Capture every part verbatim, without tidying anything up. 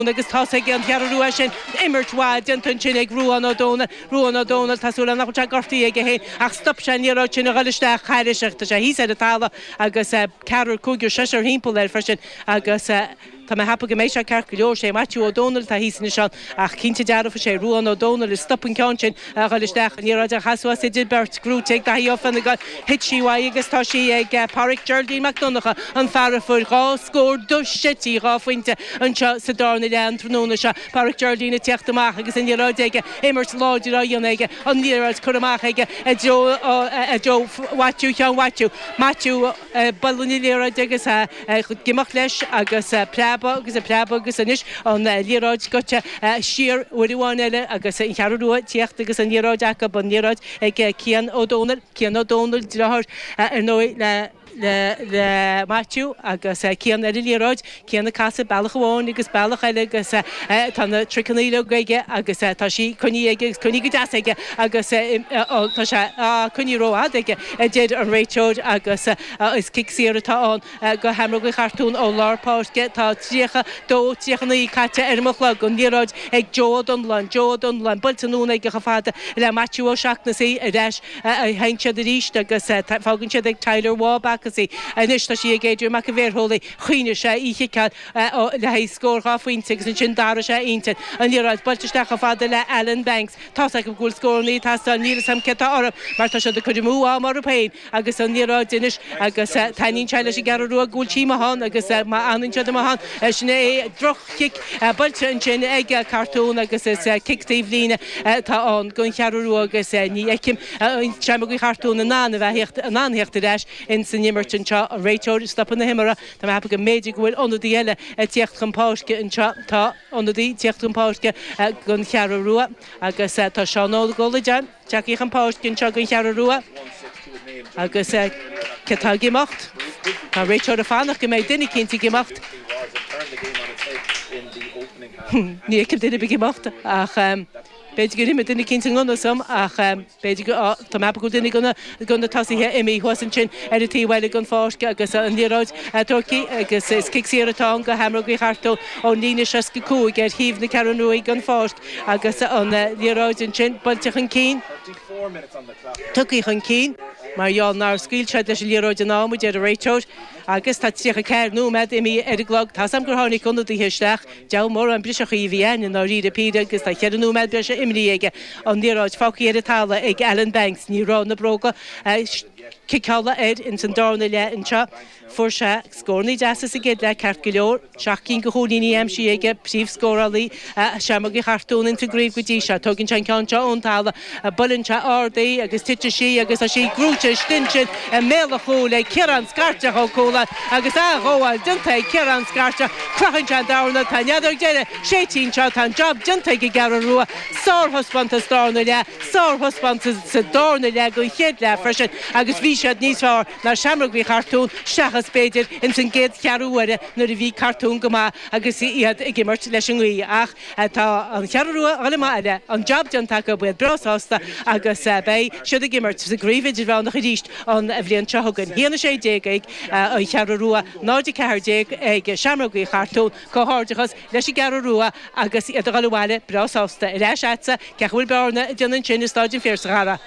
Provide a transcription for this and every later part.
Agus tá ag an Cheathrú Rua sin imirt mhaith déanta ansin ag Ruán Ó Dónaill, Ruán Ó Dónaill, tá súil agam nach bhfuil sé gortaithe aige féin ach stop sé an liathróid sin a dhul isteach thairis ach tá sé thíos ar an talamh agus ceathrar, cúigear, seisear thimpeall air freisin agus tá mé ag ceapadh go mbeidh sé ceart go leor. Sé Maitiú Ó Dónaill atá thíos anois ann ach cinnte dearfa sé Ruán Ó Dónaill a stop an ceann sin a dhul isteach, an liathróid a chas suas idir beirt, gnóite ag Daithí Ó Fionnagáin, thit sí uaidh agus tá sí ag Páraic Geraldine Mac Donncha, an fear a fuair dhá scór duais-seití, dhá phointe anseo sa darna leath an tráthnóna seo. Páraic Geraldine ag teacht amach agus an liathróid aige, imirt láidir á dhéanamh aige, an liathróid curtha amach aige i dtreo i dtreo Mhaitiú Sheáin Mhaitiú. Maitiú ag bualadh na liathróide agus ag imeacht leis agus preabadh agus ag preabadh agus anois an liathróid goite siar uair amháin eile agus an Cheathrú Rua ag tíocht agus an liathróid acu, an liathróid ag Cian Ó Dónaill, Cian Ó Dónaill, deartháir ar ndóigh le le le Maitiú agus Cian ar an liathróid, Cian ag casadh bealach amháin agus bealach eile agus tá na triceanna uilig aige agus tá sí coinnithe aige agus coinnithe go deas aige agus tá sé á coinnithe rófhada aige, a deir an réiteoir agus is cic saor atá ann go Sheamróg Uí Chartúin ó lár páirce. Tá tríocha dó, tríocha naoi caite ar mo chlog, an liathróid ag Joe Ó Donnláin, Joe Ó Donnláin, buailte anonn aige chomh fada le Maitiú Ó Seachnasaigh ar ais a théann siad arís agus fágann siad ag Tyler Waugh Backus í. Anois tá sí ag Adrian Mac an Bhéarshólaigh. Choinnigh sé í chiceáil le haghaidh scór dhá phointe agus ansin d'athraigh sé a intinn. An liathróid buailte isteach chomh fada le Alan Banks. Tá's agam go bhfuil scóranna ag teastáil, níl 'fhios a'm cé atá orthu mar tá siad ag cur amú ama orthu féin agus an liathróid anois agus taitníonn sé leis an gCeathrú Rua go bhfuil sí amuigh ann agus má fhanann siad amuigh ann sin é droch-chic buailte ansin ag Cartún agus is cic taobh líne atá ann don Cheathrú Rua agus ní fheicim Seamróg Uí Chartúin in ann a bheith in ann theacht ar ais ins an imirt anseo. An réiteoir ag stopadh na himeartha. Tá mé ag ceapadh go mb'fhéidir go bhfuil ionadaí eile ag tíocht chun páirce anseo. Tá ionadaí ag tíocht chun páirce don Cheathrú Rua agus tá Seán Óg Ó Loideáin tagtha chun páirce anseo don Cheathrú Rua agus cé atá ag imeacht? Tá an réiteoir ag fanacht go mbeidh duine eicínt ag imeacht. Ní fheicim duine ar bith ag imeacht ach b'fhéidir gur imigh duine eicínt i ngan fhios dom ach b'fhéidir go, tá mé ag ceapadh go bhfuil duine de na, de na tosaithe imithe thuas ansin ar an taobh eile den pháirc agus an liathróid tógtha agus is cic saor atá ann go Sheamróg Uí Chartúin ón líne seasca cúig ar thaobh na Ceathrún Rua den pháirc agus an liathróid ansin buailte chun cinn, tugtha chun cinn mar gheall nár scaoil siad leis an liathróid in am, a deir an réiteoir. Agus tá tríocha ceathair nóiméad imithe ar an gclog. Tá's a'm gur tháinig ionadaithe isteach. Deabhal mórán briseachaí a bhí ann i ndáiríre píre agus tá cheithre nóiméad breise imrithe aige. An liathróid fágtha ar an talamh ag Alan Banks. Ní raibh na bróga ciceála air ins an darna leath anseo. Fuair sé scórannaí deasa sa gcéad leath ceart go leor. Seacht gcinn de chúilíní aimsithe aige, príomhscórálaí Sheamróg Uí Chartúin ins an gcraobh go dtí seo. Tógann sé an ceann seo ón talamh, buaileann sé ard í agus titeann sí agus tá sí gnóite istigh ansin i mbéal an chúil ag Ciarán Scairteach Ó Cualáin agus athghabháil déanta ag Ciarán Scairteach. Croitheann sé an darna, tá an fheadóg deiridh séidte anseo, tá an job déanta ag an gCeathrú Rua. Sárthaispeántas darna leath, sárthaispeántas sa darna leath den chéad leath freisin agus bhí siad níos fearr ná Seamróg Uí Chartúin seachas b'fhéidir ins an gcéad cheathrú uaire nuair a bhí Cartún go maith agus iad ag imirt leis an ngaoth. Ach tá an Cheathrú Rua ag dul amach eile, an jab déanta acu, iad breá sásta agus beidh siad ag imirt sa gcraobh idirmheánach arís an bhliain seo chugainn. a haon a sé déag ag an Cheathrú Rua, náid a ceathair déag ag Seamróg Uí Chartúin. Comhghairdeachas leis an gCeathrú Rua agus iad ag dul abhaile breá sásta. Ar ais agatsa, cén chaoi a bhfuil Bearna ag déanamh ansin i Stáid an Phiarsaigh, a Dhara?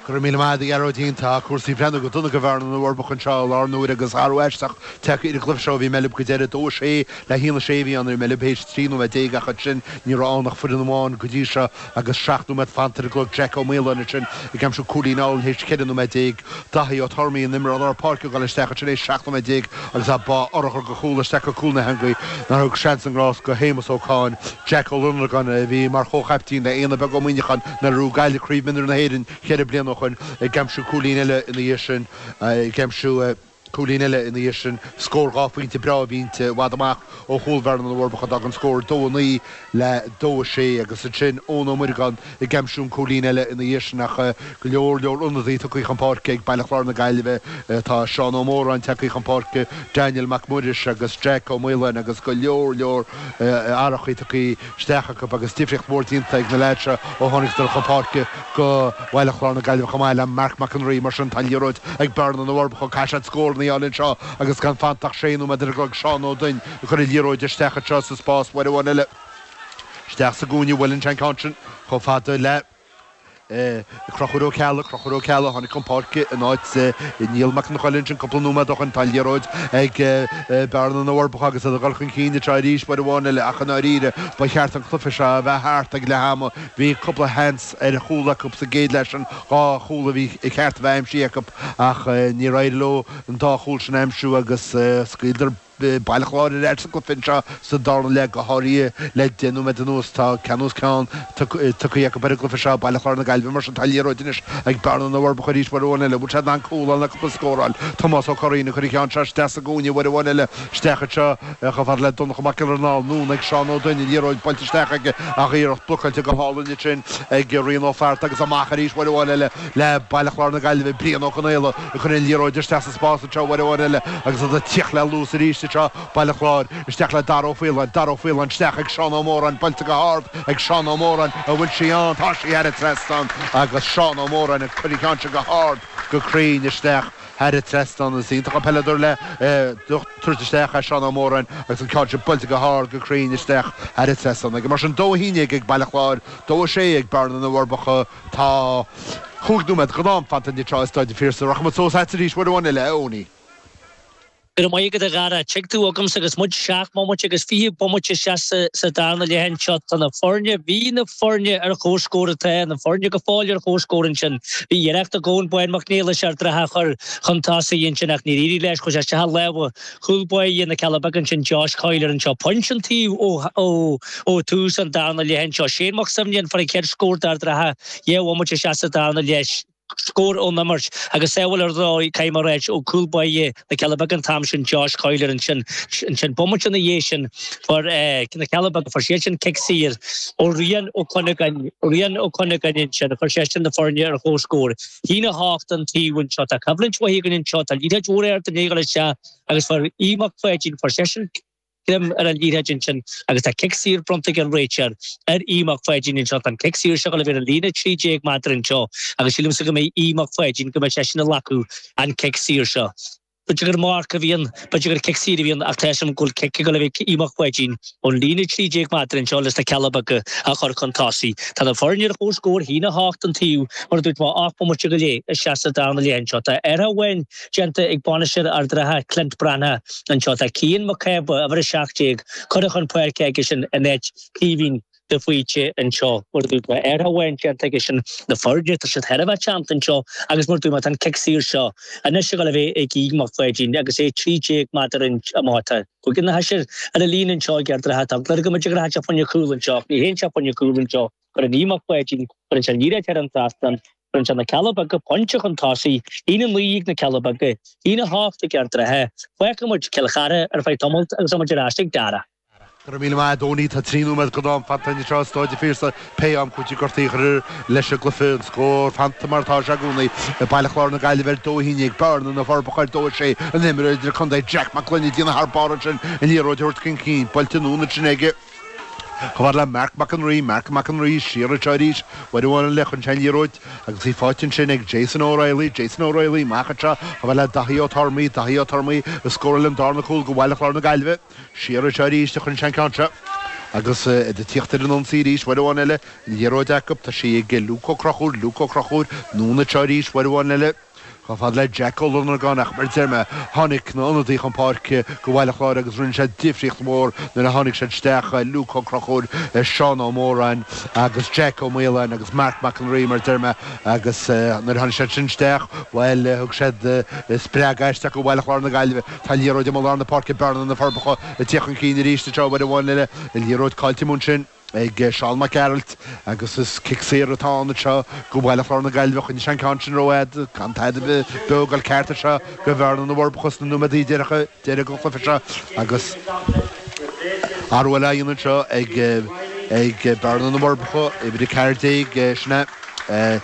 Go raibh míle maith agat, a Ghearóidín. Tá cúrsaí ag breathnú go dona do Bhearna na bhForbacha anseo i láthair na huaire agus athrú aisteach tagtha ar an gcluiche seo. Bhí Meilb go deireadh, dó a sé le haon a sé a bhí ann ar Meilb théis trí nóiméad déag ach ansin ní raibh ann ach foireann amháin go dtí seo agus seacht nóiméad fanta ar an gclog. Jack Ó Maoláin ansin ag aimsiú cúilín álainn théis ceithre nóiméad déag. Daithí Ó Tormaí, an imreoir lár páirce ag dul isteach ansin théis seacht nóiméad déag agus é bá urchar de chúl isteach go cúl na heangaí nár thug seans i ngrást do Shéamus Ó Cadhain. Jack Ó Lonergan a bhí mar chomhchaiptín le Éanna Beag Ó Muíneacháin nuair a bhuaigh Gaillimh Craobh Mionúir na hÉireann ceithre bliana ó shoin, ag aimsiú cúilín eile ina dhiaidh sin, ag aimsiú cúilín eile ina dhiaidh sin. Scór dhá phointe breá a bhí inti, i bhfad amach ó chúl Bhearna na bhForbacha. D'fhág an scór dó a naoi le dó a sé agus ansin Eoin Ó Muireagáin ag aimsiú an cúilín eile ina dhiaidh sin ach go leor leor ionadaí tugtha chun páirce ag Baile Chláir na Gaillimhe. Tá Seán Ó Móráin tagtha chun páirce, Daniel Mac Muiris agus Jack Ó Maoláin agus go leor leor athrachaí tugtha isteach acu agus difríocht mhór déanta ag na leaids seo ó tháinigeadar chun páirce go Baile Chláir na Gaillimhe chomh maith le Marc Mac an Rí. Mar sin, tá an liathróid ag Bearna na bhForbacha. Caithfidh siad scóranna bearnaí a fháil anseo agus gan fanta ach sé nóiméad ar an gclog Seán Ó Duinn ag cur an liathróid isteach anseo sa spás uair amháin eile isteach sa gcúinne bhuaileann sé an ceann sin chomh fada le Conchúr Ó Ceallaigh, Conchúr Ó Ceallaigh, tháinig chun páirce in áit Niall Mac Fhionnchoill ansin cúpla nóiméad ó shin. Tá an liathróid ag Bearna na bhForbacha agus iad ag dul chun cinn anseo arís uair amháin eile ach i ndáiríre ba cheart an cluiche seo a bheith thart ag leath ama. Bhí cúpla sheans ar chúl acu sa gcéad leath sin, dhá chúl a bhí ceart a bheith aimsithe acu ach níor éirigh leo an dá chúl sin a aimsiú agus scaoileadar Baile Chláir ar ais sa gcluiche anseo sa darna leath, go háirithe le deich nóiméad anuas. Tá ceann os cionn tugtha acu ar an gcluiche seo, Baile Chláir na Gaillimhe. Mar sin, tá an liathróid anois ag Bearna na bhForbacha arís uair amháin eile. Bhfuil siad in ann cúl a fháil nó cúpla scór a fháil? Tomás Ó Curraoin ag cur an cheann seo isteach sa gcúinne uair amháin eile. Isteach anseo chomh fada le Donncha Mac Giollarnáth. Anonn ag Seán Ó Duinn, an liathróid buailte isteach aige ach iarracht blocáilte go hálainn ansin ag Rian Ó Flatharta agus amach arís uair amháin eile le Baile Chláir na Gaillimhe. Brian Ó Conaola ag cur an liathróid isteach sa spás anseo uair amháin eile agus iad ag tíocht le luas arís anseo, Baile Chláir, isteach le Dara Ó Faoláin, Dara Ó Faoláin isteach ag Seán Ó Móráin, buailte go hard ag Seán Ó Móráin, an bhfuil sí ann? Tá sí thar an trasnán agus Seán Ó Móráin ag cur an cheann seo go hard, go cruinn isteach thar an trasnán. Is iontach an peileadóir le tabhairt isteach é Seán Ó Móráin agus an ceann seo buailte go hard, go cruinn isteach thar an trasnán aige. Mar sin, dó a haon déag ag Baile Chláir, dó a sé ag Bearna na bhForbacha. Tá chúig nóiméad den am fanta anseo i Staid an Phiarsaigh. Rachaimid suas agat arís uair amháin eile, a Eoiní. Go raibh maith agat a Dhara. Tig tú agamsa agus muid seacht mbomaite agus fiche bomaite isteach sa darna leath anseo. Tá na foirne, bhí na foirne ar comhscór atá na foirne go fóill ar comhscór ansin. Bhí iarracht ag Eoin Bán Mac Niallais Ard an Rátha a chur chun tosaigh ansin ach níor éirigh leis. Chuaigh sé isteach i lámha chúl báire na Cealla Beaga ansin Josh Coyler anseo. Pointe an taobh ó ó ó tús an darna leath anseo. Shane Mac Suibhne an fear an chéad scór d'Ard an Rátha dhá bhomaite isteach sa darna leath. Scór ón imirt agus sábháil ar ndóigh, caithfidh mé a ráit, ó chúl báire na Cealla Beaga an t-am sin, Josh Coyler ansin. Ansin bomaite ina dhiaidh sin fuair na Cealla Beaga, fuair siad sin cic saor ó Rian Ó Cuinneagáin, Rian Ó Cuinneagáin ansin, chuir seisean na foirne ar comhscór. Haon a hocht an taobh anseo. Tá coimhlint mhaith againn anseo, tá liathróid mhór ard i ndiaidh a dhul isteach agus fuair Aodh Mac Pháidín, fuair seisean greim ar an liathróid ansin agus tá cic saor bronnta ag an réiteoir ar Aodh Mac Pháidín anseo. Tá an cic saor seo ag dul a bheith ar an líne trí déag méadar anseo agus sílimse go mbeidh Aodh Mac Pháidín, go mbeidh seisean ag glacadh an cic saor seo. B'fhéidir gur marc a bhí ann, b'fhéidir gur cic saor a bhí ann ach tá a fhios agam go bhfuil cic ag dul a bheith ag Aodh Mac Pháidín ón líne trí déag méadar anseo leis na Cealla Beaga a chur chun tosaigh. Tá na foirne ar comhscór, haon a hocht an taobh, mar a dúirt mé, ocht mbomaite go leith isteach sa darna leath anseo. Tá athrú amháin déanta ag bainisteoir Ard an Rátha, Clint Breathnach, anseo. Tá Cian Mac Cába, uimhir a seacht déag, curtha chun páirce aigesean in áit Caoimhín de Faoite anseo. Mar a dúirt mé, athrú amháin déanta aigesean. Na foirne, tá siad thar a bheith teannta anseo agus mar a dúirt mé, tá an cic saor seo anois ag dul a bheith ag Aodh Mac Pháidín agus é trí déag méadar amach. Tá cúigear nó seisear ar an líne anseo ag Ard an Rátha. Tá eagla orm go mb'fhéidir go rachaidh sé fá choinne cúl anseo ach ní théann sé fá choinne cúl anseo. Cuireann Aodh Mac Pháidín, cuireann sé an liathróid thar an trasnán. Cuireann sé na Cealla Beaga pointe chun tosaigh, haon a naoi ag na Cealla Beaga, haon a hocht ag Ard an Rátha. Fágfaidh muid Cill Chartha ar feadh tamaill agus muid ar ais ag Dara. Go raibh míle maith agat, Eoiní. Tá trí nóiméad den am fanta anseo i Staid an Phiarsaigh pé am cúinsí gortaithe a chur leis an gcluiche. An scór fanta mar atá sé i gcónaí. Baile Chláir na Gaillimhe ar dó a haon déag, Bearna na Forbacha ar dó a sé. An t-imreoir idirchontae Jack Mac Gloinn ag déanamh thar barr ansin an liathróid a thabhairt chun cinn. Buailte anonn ansin aige. Chomh fada le Marc Mac an Rí, Marc Mac an Rí, siar anseo arís, uair amháin eile chun an liathróid agus í faighte ansin ag Jason O'Reilly, Jason O'Reilly, amach anseo chomh fada le Daithí Ó Tormaí, Daithí Ó Tormaí a scóráil an darna cúl do Bhaile Chláir na Gaillimhe, siar anseo arís a chuireann sé an ceann seo agus iad ag tíocht ar an ionsaí arís uair amháin eile, an liathróid acu, tá sí ag Luke Ó Conchúir, Luke Ó Conchúir, anonn anseo arís uair amháin eile. Chomh fada le Jack Ó Lonergáin ach mar a deir mé, tháinig na hionadaithe chun páirce do Bhaile Chláir agus rinne siad difríocht mhór nuair a tháinig siad isteach, Luke Ó Conchúir, Seán Ó Móráin agus Jack Ó Maoláin agus Marc Mac an Rí mar a deir mé agus nuair a tháinig siad sin isteach, bhuel, thug siad spreagadh isteach do Bhaile Chláir na Gaillimhe. Tá an liathróid amuigh i lár na páirce, Bearna na Forbacha ag tíocht chun cinn arís anseo uair amháin eile, an liathróid caillte amuigh ansin. ag Seán Mac Gearailt agus is cic saor atá ann anseo do Bhaile Chláir na Gaillimhe. Choinnigh sé an ceann sin rófhada, gan tada beo ag dul ceart anseo do Bhearna na bhForbacha sna nóiméadaí deireanacha deiridh den chluiche seo agus athrú eile á dhéanamh anseo ag ag Bearna na bhForbacha, uimhir a ceathair déag, sin é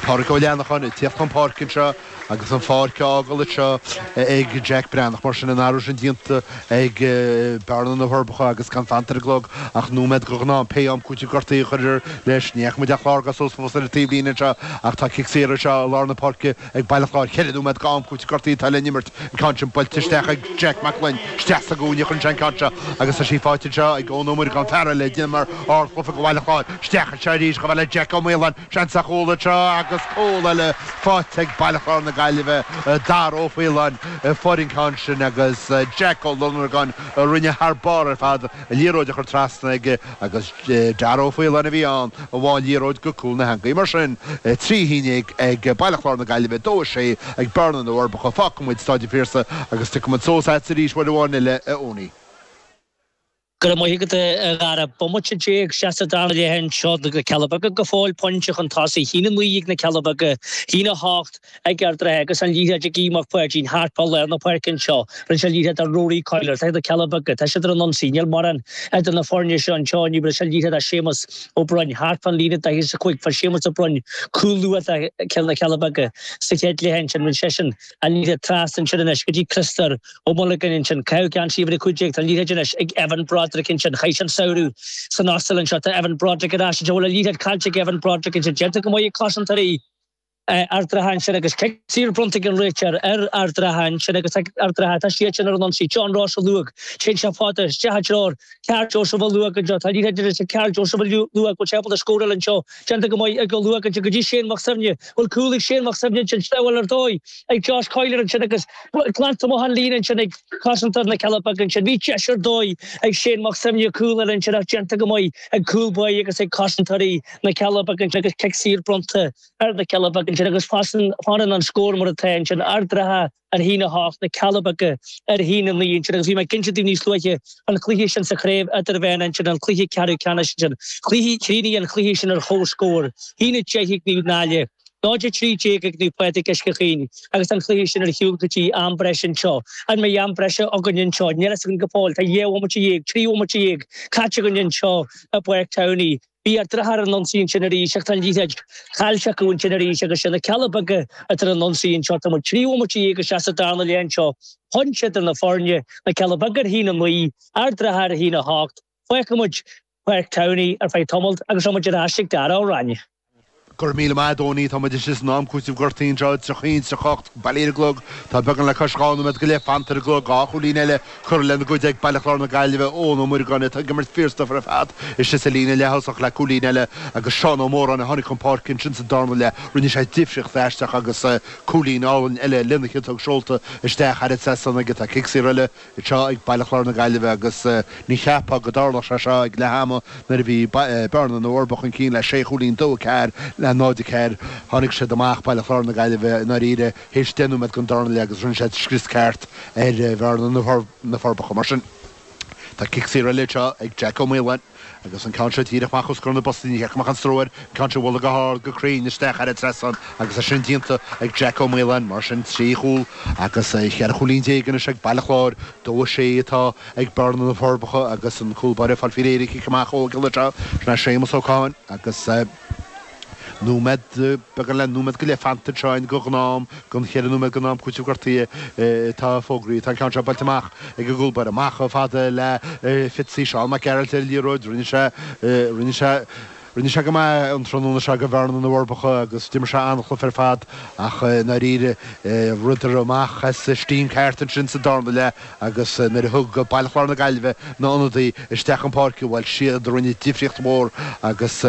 Pádraig Ó Leanacháin ag tíocht chun páirce anseo agus an pháirc á fhágáil anseo ag Jack Breathnach mar sin an athrú sin déanta ag Bearna na Forbacha agus gan fanta ar an gclog ach nóiméad go ghnáth pé am cúiteamh gortaithe a chuirtear leis. Ní fhaca muid ach clár suas fós ar an taobhlíne anseo ach tá cic saor anseo i lár na páirce ag Baile Chláir. Ceithre nóiméad go am cúiteamh gortaithe atá le n-imirt. An ceann sin buailte isteach ag Jack Mac Gloinn. Isteach sa gcúinne a chuireann sé an ceann seo agus tá sí faighte anseo ag Eoin Ó Muireagáin fear eile a d'imir ardchluiche go Bhaile Chláir. Isteach anseo arís chomh fada le Jack Ó Maoláin. Seans ar chúl anseo agus cúl eile faighte ag Baile Chláir na Gaillimhe. Dara Ó Faoláin a fuair an ceann sin agus Jack Ó Lonergan a rinne thar barr ar fad an liathróid a chur trasna aige agus Dara Ó Faoláin a bhí ann a bháigh an liathróid go cúl na heangaí. Mar sin, trí a haon déag ag Baile Chláir na Gaillimhe, dó a sé ag Bearna na bhForbacha. Fágfaidh muid Staid an Phiarsaigh agus tiocfaidh muid suas agat arís uair amháin eile, a Eoiní. Go raibh maith agat, a Dhara. Bomaite déag isteach sa dara leath anseo na Cealla Beaga go fóill pointe chun tosaigh. A haon a naoi ag na Cealla Beaga, a haon a hocht ag Ard an Rátha agus an liathróid ag Aodh Mac Pháidín thart fá lár na páirce anseo. Rinne sé an liathróid do Rory Coyler. Tá na Cealla Beaga, tá siad ar an ionsaí. Níl mórán idir na foirne seo anseo inniu. Rinne sé an liathróid do Séamus Ó Broin thart fán líne daichead is a cúig. Fuair Séamus Ó Broin cúl luath do na Cealla Beaga sa chéad leath ansin. Rinne seisean an liathróid trasna ansin anois go dtí Criostóir Ó Muilleagáin ansin. Caitheadh geansaí uimhir a cúig déag. Tá an liathróid anois ag Evan Broderick ansin. Chaith sé an samhradh san Ostail anseo. Tá Evan Broderick ar ais anseo. Bhfuil an liathróid caillte ag Evan Broderick ansin. Déanta go maith ag cosantóirí Ard an Rátha ansin agus cic saor bronnta ag an réiteoir ar Ard an Rátha ansin agus Ard an Rátha tá siad sin ar an ionsaí. John Ross Ó Luaig. Téann sé fada isteach i dtreo Karl Joseph Ó Luaig anseo. Tá an liathróid anois ag Karl Joseph Ó Luaig. Bhfuil sé ábalta scóráil anseo. Déanta go maith ag Ó Luaig anseo go dtí Shane Mac Suibhne. Bhfuil cúl ag Shane Mac Suibhne ansin. Stabháil ar dóigh ag Josh Coyler ansin agus glanta amach an líne ansin ag cosantóir na Cealla Beaga ansin. Bhí deis ar dóigh ag Shane Mac Suibhne cúl eile ansin ach déanta go maith ag cúl báire agus ag cosantóirí na Cealla Beaga ansin agus cic saor bronnta ar na Cealla Beaga ansin agus fanann an scór mar atá ansin Ard an Rátha ar a haon a hocht, na Cealla Beaga ar a haon a naoi ansin agus bhí mé ag inse daoibh níos luaithe an cluiche sin sa chraobh idirmheánach ansin, an cluiche ceathrú ceannais ansin. Cluiche, chríochnaigh an cluiche sin ar chomhscór, a haon a deich ag Naomh Náille, náid a trí déag ag Naomh Pádraig Uisce Chaoin agus an cluiche sin ar shiúl go dtí am breise anseo. An mbeidh am breise againn anseo? Níl a fhios againn go fóill. Tá dhá bhomaite dhéag, trí bhomaite dhéag caite againn anseo i bPáirc Towney. Bhí Ard an Rátha ar an ionsaí ansin arís ach tá an liathróid caillte acu ansin arís agus sé na Cealla Beaga atá ar an ionsaí anseo. Tá muid trí bhomaite dhéag isteach sa darna leath anseo. Pointe idir na foirne, na Cealla Beaga ar a haon a naoi, Ard an Rátha ar a haon a hocht. Fágfaidh muid Páirc Towney ar feadh tamaill agus beidh muid ar ais ag Dara Ó Ráinne. Go raibh míle maith, a Eoiní. Tá muid istigh san am cúitimh gortaithe anseo, tríocha a haon, tríocha a hocht, bailí ar an gclog. Tá beagán le cois dhá nóiméad go leith fanta ar an gclog. Dhá chúilín eile curtha lena gcuid ag Baile Chláir na Gaillimhe, Eoin Ó Muireagáin atá ag imirt fíorstuif ar fad istigh sa líne leath-thosach le cúilín eile agus Seán Ó Móráin a tháinig chun páirce ansin sa darna leath. Rinne sé difríocht aisteach agus cúilín álainn eile lena chiotóg seolta isteach thar an trasnán aige. Tá cic saor eile anseo ag Baile Chláir na Gaillimhe agus ní cheapfá go dtarlódh sé seo ag leath ama nuair a bhí Bearna na bhForbacha chun cinn le sé chúilín, dó a ceathair le náid a ceathair. Tháinig siad amach, Baile Chláir na Gaillimhe, i ndáiríre théis deich nóiméad den darna leath agus rinne siad scrios ceart ar Bhearna na Forbacha. Mar sin, tá cic saor eile anseo ag Jack Ó Maoláin agus an ceann seo díreach amach os comhair na bpostaí. Ní cheart go mbeadh aon stró air, an ceann seo a bhualadh go hard, go cruinn isteach thar an trasnán agus é sin déanta ag Jack Ó Maoláin. Mar sin, trí chúl agus cheithre chúilín déag anois ag Baile Chláir, dó a sé atá ag Bearna na Forbacha agus an cúl báire ag fáil faoi réir an cic amach ó Ghiolla Trá. Sin é Séamus Ó Catháin agus nóiméad, beagán le nóiméad go leith fanta anseo againn go ghnáth-am, den cheithre nóiméad den am cúitimh gortaithe atá fógraithe. Tá an ceann seo buailte amach ag an gcúl báire, amach chomh fada le Fitzy, Seán Mac Gearailt ar an liathróid. Rinne sé, rinne sé, rinne sé go maith an tráthnóna seo do Bhearna na bhForbacha agus d'imir sé an-chluiche ar fad ach i ndáiríre rithedar amach as steam ceart ansin sa darna leath agus nuair a thug Baile Chláir na Gaillimhe na n-ionadaí isteach chun páirce, bhuel, siad a rinne difríocht mhór agus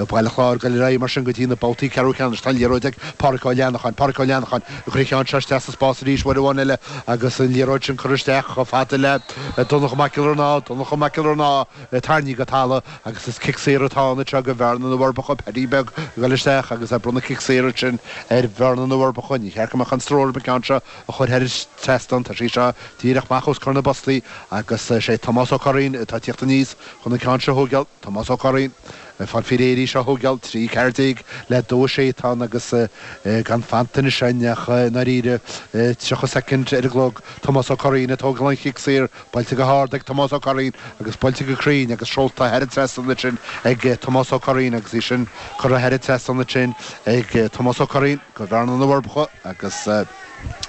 Baile Chláir ag dul ar aghaidh mar sin go dtí na babhtaí ceathrú ceannais. Tá an liathróid ag Pádraic Ó Leanacháin, Pádraic Ó Leanacháin ag cur an ceann seo isteach sa spás arís uair amháin eile agus an liathróid sin curtha isteach chomh fada le Donncha Mac Giollarnáth, Donncha Mac Giollarnáth tarraingthe go talamh agus is cic saor atá ann anseo do Bhearna na bhForbacha, Paddy Beag ag dul isteach agus ag bronnadh cic saor ansin ar Bhearna na bhForbacha. Ní cheart go mbeadh aon stró orthu an ceann seo a chur thar an trasnán. Tá sí seo díreach amach os comhair na bpostaí agus is é Tomás Ó Curraoin atá ag tíocht aníos chun an ceann seo a thógáil. Tomás Ó Curraoin Fáil faoi réir í seo a thógáil, trí ceathair déag le dó a sé atá ann agus gan fanta anois againn ach i ndáiríre tríocha soicind ar an gclog. Tomás Ó Curraoin ag tógáil an chic saor, buailte go hard ag Tomás Ó Curraoin agus buailte go cruinn agus seolta thar an trasnán ansin ag Tomás Ó Curraoin agus í sin curtha thar an trasnán ansin ag Tomás Ó Curraoin go Bhearna na bhForbacha agus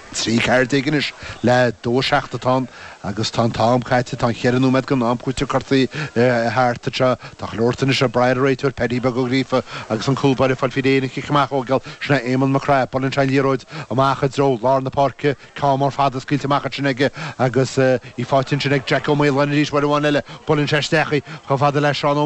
trí ceathair déag anois le dó a seacht atá ann agus tá an t-am caite, tá an cheithre nóiméad den am cúitimh curtha thart anseo. Tá go leor anois ag brath ar an réiteoir Paddy Beag Ó Gríofa agus an cúl báire ag fáil faoi réir an chic amach a thógáil, sin é Éamonn Mac Craith. Buaileann sé an liathróid amach i dtreo lár na páirce, ceann mór fada scaoilte amach ansin aige agus í faighte ansin ag Jack Ó Maoláin arís uair amháin eile. Buaileann sé isteach í chomh fada le Seán Ó.